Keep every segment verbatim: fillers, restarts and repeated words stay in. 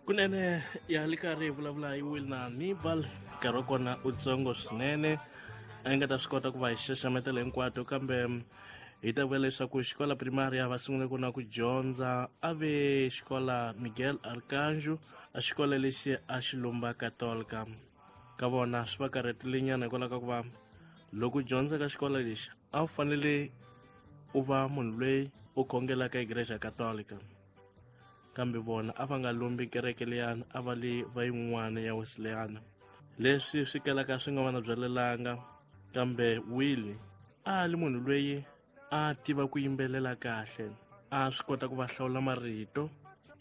Kunene ya li karhi hi vulavula hi Wilna Nibal, nkarhi wa kona u tsongo swinene, a yi nga ta swi kota ku va hi xaxametela hinkwato, kambe hi ta vula leswaku xikola primaria va sungule ku na ku dyondza a ve xikola Miguel Arcanjo, a xikola lexi a xi lumba Katolika. Ka vona swi va karhatile nyana hikwalaho ka ku va loko u dyondza ka xikola lexi a wu fanele u va munhu loyi u khongelaka igreja Katolika, kambe vona a va nga lumbi kereke liyani, a va li va yin'wana ya Wesleyana, leswi swi kalaka swi nga va na byalelanga. Kambe Willie a li munhu loyi a tiva ku yimbelela kahle, a swi kota ku va hlawula marito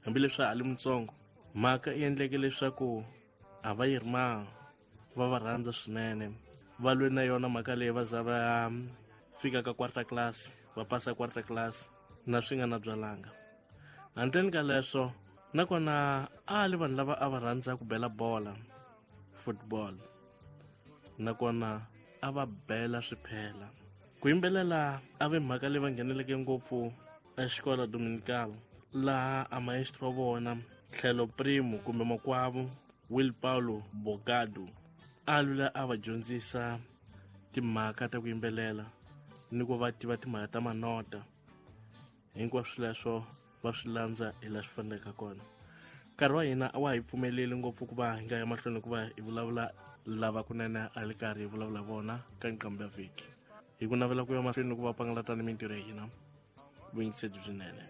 hambileswi a li mutsongo. Mhaka yi endleke leswaku a va yirima va va rhandza swinene, va lwe na yona mhaka leyi va za va fika ka quarter class, va pasa quarter class na swi nga na byalanga. Handleni ka leswo nakona a li vanhu lava a va rhandza ku bela bola, football, nakona a va bela swiphela. Ku yimbelela a ve mhaka leyi va ngheneleke ngopfu exikola Dominical, laha a maestro wa vona tlhelo primo kumbe makwavo Will Paulo Bogado a lula a va dyondzisa timhaka ta ku yimbelela ni ku va tiva timhaka ta manota. Hinkwaswo leswo va swi landza hi laha swi faneleke kona. Nkarhi wa hina a wa hi pfumeleli ngopfu ku va hi nga ya mahlweni ku va hi vulavula lava kunene a li karhi hi vulavula vona ka nqambi ya vhiki. Hi ku navela ku ya mahlweni ku va pangalata ni mintirho ya hina, vuyingiseri byinene.